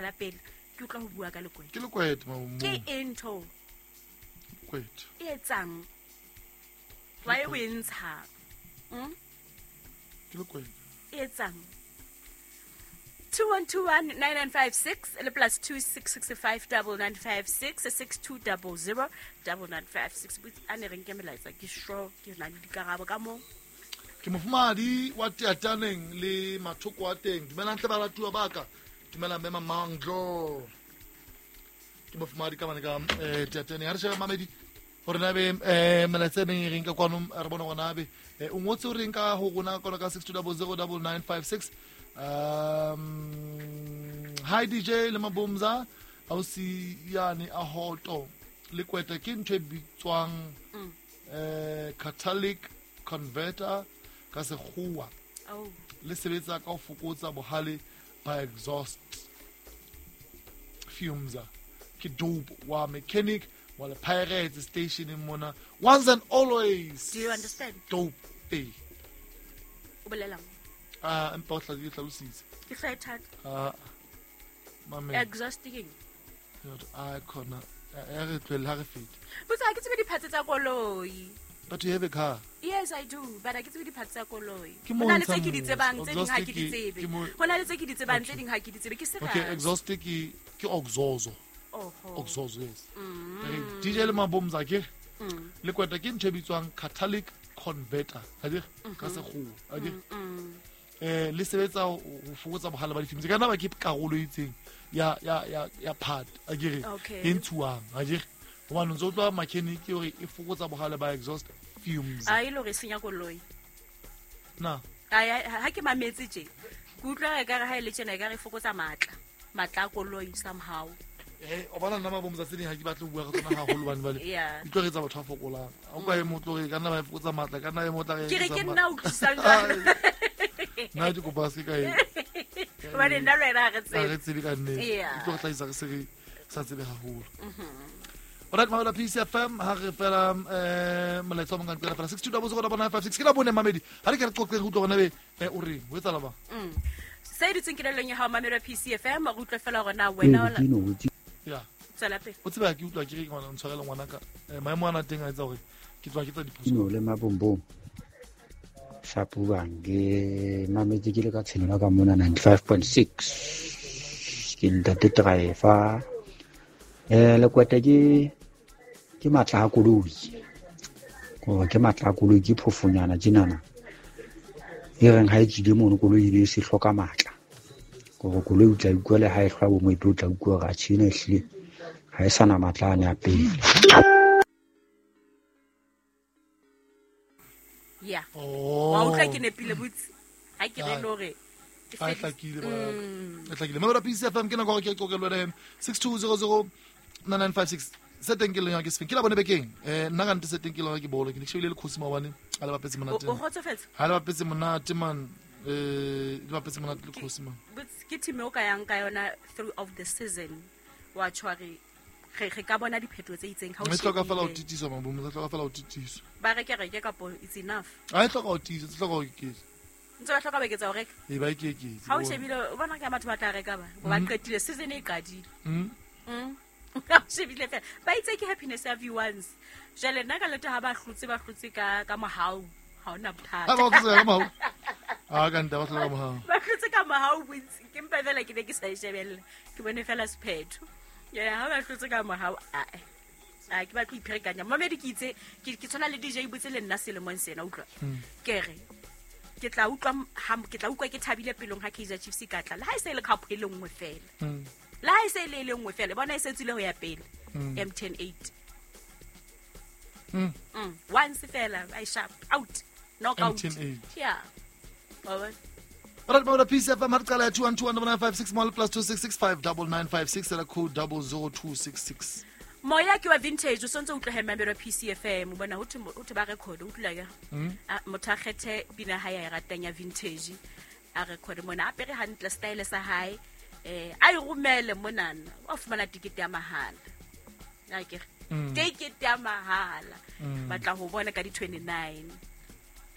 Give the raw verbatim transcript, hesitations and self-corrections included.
La pele ke utlwa ho bua ka lekwete. Ke lekwete mabomo. Ke eng ntho? Lekwete. E etsang? Why o e ntsha? Mm? Ke lekwete. E etsang? two one two one nine nine five six le plus two six six five double nine five six six two double zero double nine five six. A ne re nke melaetsa ke sure ke na le dikarabo ka mo. Ke mofumadi wa Teataneng le mathoko a teng. Dumelang tle baratuwa ba ka. Dumela mme Mamanglo. Ke mofumadi ka mane ka eh Teataneng. Ha re shebe mamedi hore na be eh melaetsa e meng e reng ka kwano re bona hore na be o ngotse o reng ka ho rona kwano ka six two double zero double nine five six. Um hi D J le Mabomza ausi yane a hoto lekwete ke ntho e bitswang eh catalytic converter ka sekgowa. Oh. Le sebetsa ka ho fokotsa bohale ba exhaust fumes. Ke dope wa mechanic wa le Pirates station in mona once and always. Do you understand? Dope. Eh. O bolelang? Ah, empa o tla di tlhalositse. Ke hlae thata. Ah. Mame. Exhausting. A khona ya re tlwele ha re fete. Botsa ha ke tsebe diphatse tsa koloi. But you have a car? Yes, I do, but I ke tsebe diphatse tsa koloi. Hona le tse ke di tsebang tse ding ha ke di tsebe. Hona le tse ke di tsebang tse ding ha ke di tsebe. Ke serious. Okay, exhaust ke ke oxozo. Oho. Oxozo, yes. Mm. D J le Mabomza ke. Le kweta ke ntho e bitswang catalytic converter. Ha di ka sekgowa. Ha di. Eh le sebetsa ho fokotsa bohale ba difilms. Ka nna ba ke karolo e itseng ya ya ya ya part a ke re e ntshuwang a ke re hobane ntse o tloha mechanic hore e fokotsa bohale ba exhaust fumes. A ile re senya koloi. Na. A ha ke mametse tje. Ke utlwa e ka re ha ile tjena e ka re fokotsa matla. Matla a koloi somehow. Eh o bona nna Mabomza tse ding ha ke batle ho bua ka tsona haholo bane bale. E tlo re etsa batho ba fokolang. Ha o ka e motlo re ka nna ba e fokotsa matla ka nna e motla re. Ke re ke nna o utlwisang jwalo. Nna ke kopa se ka e. Hobane nna le wena ha re tsebe. Ha re tsebe ka nnete. E tlo re hlahisa re se re sa tsebe haholo. Alright, Mahola P C F M ha re fela eh molaetsa o mong ka nqela fela six two double zero double nine five six ke la bone mamedi. Ha re ke re qoqe re utlwe hore na be o reng ho etsahala bang. Mm. Se dutseng kelellong ya hao mamelo P C F M re utlwe fela hore na wena o ya. Tswela pele. O tseba ke utlwa ke re ngwana ntshwarele ngwana ka maemo ana teng a etsa hore ke tswa ke tsa diphoso. No le Mabombom. Shapuang ke mametse ke le ka tshenola ka mona ninety-five point six ke ntate driver eh lekwete ke ke matla a koloi gore ke matla a koloi ke phofonyana tjenana e reng ha e tswile mono koloi e be se hloka matla gore koloi o tla utlwa le ha e hlwa bo moeto o tla utlwa gore a tjhena ehlile ha e sana matla ane a pele. Yeah. Oh. Wa utlwa ke nepile botse. Ha ke re lore. A e hlakile ba. E hlakile. Mahola P C F M ke nako ke qoqe le wena six two zero zero nine nine five six. Se teng ke leng ke sefeng. Ke la bone bekeng. Eh nna ka nte se teng ke leng ke bolo. Ke ne ke shebile le khosi maobane a le bapetse monate. O kgotsofetse? Ha le bapetse monate man. Eh le bapetse monate le khosi man. Botse ke team o ka yang ka yona throughout the season. Wa tshware re re ka bona diphetoho tse itseng ha o shebile. Hloka fela ho titiswa Mabomo, hloka fela ho titiswa. Ba reke reke kapo it's enough. Ha e hloka ho titiswa, e hloka ho eketsa. Ntse ba hloka ba eketsa ho reka. E ba eketse. Ha o shebile o bona ka batho ba tla reka ba, ba qetile season e qadile. Mm. Mm. Ha o shebile fela. Ba itse ke happiness ya V ones. Jwale nna ka leta ha ba hlotse ba hlotse ka ka mohau, ha ona bothata. Ha ba hlotse ka mohau. Ah ka nta ba hloka mohau. Ba hlotse ka mohau bontsi. Ke mpa fela ke ne ke sa e shebella. Ke bone fela sephetho. Yeah, ha ba hlotse ka mohau a a ke batla ipherekanya. Mamedi ke itse ke ke tshwana le D J botse le nna selemong sena utlwa. Ke re ke tla utlwa ke tla utlwa ke thabile pelong ha Kaizer Chiefs ka tla. Le ha e se le cup e le nngwe fela. Le ha e se le le nngwe fela, bona e se tswile ho ya pele. M ten eight. Mm. Mm. Once fela, I sharp out. Knock out. M ten eight. Yeah. Bye. Alright, Mahola P C F M ha re qala ya two one two one nine five six plus two six six five double nine five six la code double zero two six six. Moya ke wa vintage o sontse o utlwe member P C F M o bona ho thwe ba record o utlwa ya. Motho a kgethe pina ha ya e ratang ya vintage a record mona a pere hantle style sa hae eh a e romele monana o fumana ticket ya mahala. A ke ticket ya mahala batla ho bona ka di twenty-nine.